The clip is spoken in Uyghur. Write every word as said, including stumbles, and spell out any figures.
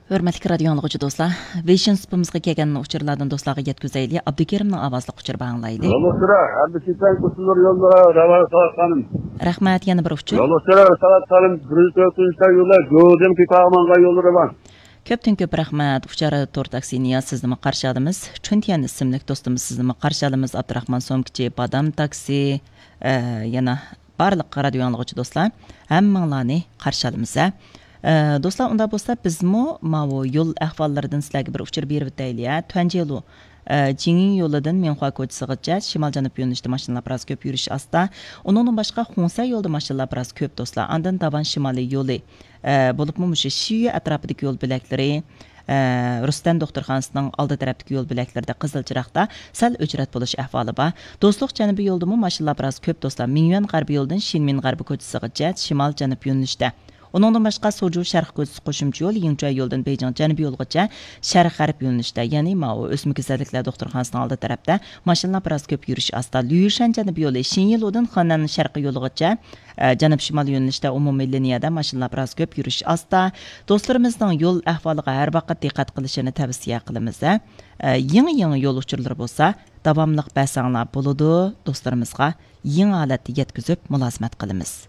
ھۆرمەتلىك رادىيو ئاڭلىغۇچى دوستلار، ۋېيشىن سۇپىمىزغا كەلگەن ئۇچۇرلاردىن دوستلارغا يەتكۈزەيلى. ئابدۇكېرىمنىڭ ئاۋازلىق ئۇچۇرى بار، ئاڭلايلى. يولۇچىلار، ھەددىسى تەڭ قۇسۇلۇر يوللار، رەۋا ساۋات خانىم. رەھمەت، يەنە بىر ئۇچۇر. يولۇچىلار، ساۋات خانىم، بىر يۈز تۆتىنچى يوللار، گۆدىن كېتىۋالمىغان يوللىرى بار. كۆپتىن كۆپ رەھمەت، ئۇچار تور تاكسى نىياز، سىزنىمۇ قارشى ئالىمىز. چۈنتيەن ئىسىملىك دوستىمىز، سىزنىمۇ قارشى ئالىمىز. ئابدۇراخمان سومكىچى، بادام تاكسى، ئە، يەنە بارلىق رادىيو ئاڭلىغۇچى دوستلار، ھەممىڭلارنى قارشى ئالىمىز، ھە. ئە، دوستلار، ئۇنداق بولسا بىزمۇ ماۋۇ يول ئەھۋاللىرىدىن سىلەرگە بىر ئۇچۇر بېرىۋېتەيلى، ھە. تۈەنجې يولى، ئە، جىڭيىڭ يولىدىن مىڭخۇا كوچىسىغىچە شىمال جەنۇب يۆنىلىشتە ماشىنىلار بىراز كۆپ يۈرۈش ئاستا. ئۇنىڭدىن باشقا خۇڭسەن يولىدا ماشىنىلار بىراز كۆپ دوستلار. ئاندىن داۋان شىمالىي يولى، ئە، بولۇپمۇ مۇشۇ شىيۈ ئەتراپىدىكى يول بۆلەكلىرى، ئە، رۇستەن دوختۇرخانىسىنىڭ ئالدى تەرەپتىكى يول بۆلەكلىرىدە قىزىل چىراغدا سەل ئۆچرەت بولۇش ئەھۋالى بار. دوستلۇق جەنۇبىي يولىدىمۇ ماشىنىلار بىراز كۆپ دوستلار. مىڭيۈەن غەربىي يولىدىن شىنمىن غەربىي كوچىسىغىچە شىمال جەنۇب يۆنىلىشتە. ئۇنىڭدىن باشقا سوجۇ شەرقىي كوچىسى قوشۇمچە يول، يىڭچۇەي يولىدىن بېيجىڭ جەنۇبىي يولىغىچە شەرق غەرب يۆنىلىشتە، يەنى ماۋۇ ئۆسمە كېسەللىكلەر دوختۇرخانىسىنىڭ ئالدى تەرەپتە ماشىنىلار بىراز كۆپ يۈرۈش ئاستا. ليۇشەن جەنۇبىي يولى شىنيىلۇدىن خېنەن شەرقىي يولىغىچە، ئە، جەنۇب شىمال يۆنىلىشتە ئومۇمىي لىنىيەدە ماشىنىلار بىراز كۆپ يۈرۈش ئاستا. دوستلىرىمىزنىڭ يول ئەھۋالىغا ھەر ۋاقىت دىققەت قىلىشىنى تەۋسىيە قىلىمىز، ھە. ئە، يېڭى، يېڭى يول ئۇچۇرلىرى بولسا داۋاملىق بەرسەڭلار بولىدۇ، دوستلىرىمىزغا يېڭى ھالەتتە يەتكۈزۈپ مۇلازىمەت قىلىمىز.